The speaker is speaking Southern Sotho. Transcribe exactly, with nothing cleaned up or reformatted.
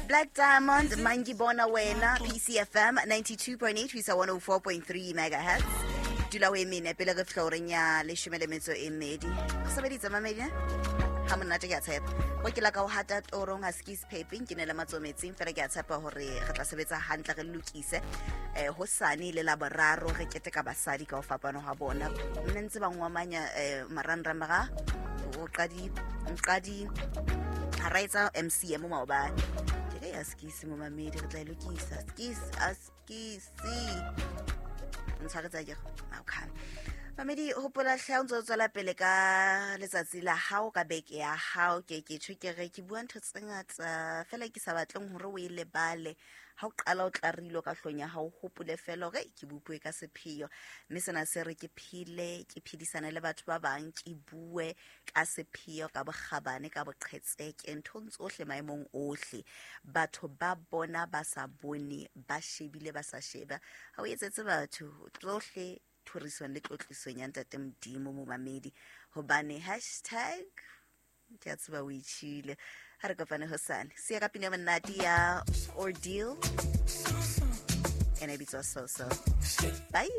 Black Diamond, Mangi Bona Wena, P C F M ninety-two point eight, one oh four point three megahertz. Dula o emene pele re fihla horeng ya leshome le metso e mmedi. Re sebeditse mamedi, eh? Ha monate ke a tshepa. Ho ke la ka ho hata torong ha skis pepeng, ke ne le matsoho metsing, fela ke a tshepa hore re tla sebetsa hantle re lokise. Eh, hosane le la boraro re keteka basadi ka ho fapana ha bona. Nne ntse ba ngwamanya, eh, marangrang ba o qadi, nqadi ha ra etsa M C M maobane. Ke re ya skis mo mamedi, re tla e lokisa. Skis, a skis. Ntshwaretsa ke re, okay. Mamedi, hopola hle ha o ntso tswela pele ka letsatsi la hao, ka beke ya hao. Ke ke tjho ke re ke bua ntho tse ngata fela ke sa batleng hore o e lebale. Ha o qala o tlarile ka hlong ya hao, hopole fela hore ke bupuwe ka sepheo. Mme sena se re ke phele, ke phedisane le batho ba bang, ke bue ka sepheo, ka bokgabane, ka boqhetseke, nthong tsohle, maemong ohle. Batho ba bona ba sa bone, ba shebile ba sa sheba. Ha o etsetse batho tsohle thorisong le tlotlisong ya Ntate Modimo momamedi, hobane hashtag ke a tseba o itjhile. Ha re kopane hosane. Siya ka pina ya monate ya Ordeal. Ena e bitswa So So. Bye.